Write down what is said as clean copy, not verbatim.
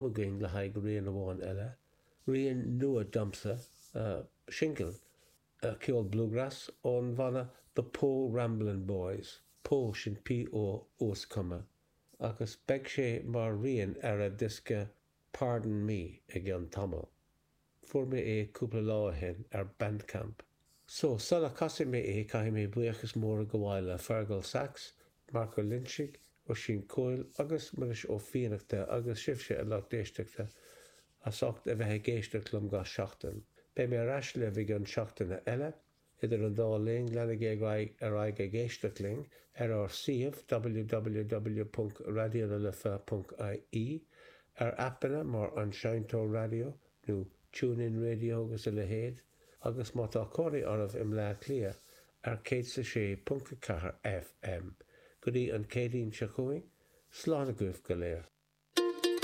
Againn le haghaidh rian amháin eile, rian nua domsa, singil, ceol bluegrass ón bhanna The Po Ramblin' Boys, Po sin P-O uaschuma, agus beidh sé mar rian ar a diosca Pardon Me i gceann tamaill. Fuair mé é cúpla lá ó shin ar Bandcamp. So, sula casfaidh mé é caithfidh mé buíochas mór a ghabháil le Fergal Sachs, Marc Ó Loinsigh, Oisín Coyle agus Muiris Ó Fiannachta agus sibhse a lucht éisteachta as ucht a bheith ag éisteacht liom gach seachtain. Beidh mé ar ais libh i gcionn seachtaine eile. Idir an dá linn, leanaigí ar aghaidh ag éisteacht linn ar ár suíomh www.raidionalife.ie, ar aipeanna mar An Seinnteoir Raidió nó TuneIn Radio agus a leithéid, agus má tá cónaí oraibh i mBleá Cliath, ar 106.4 FM. Go dtí an Céadaoin seo chugainn, slán agaibh go léir.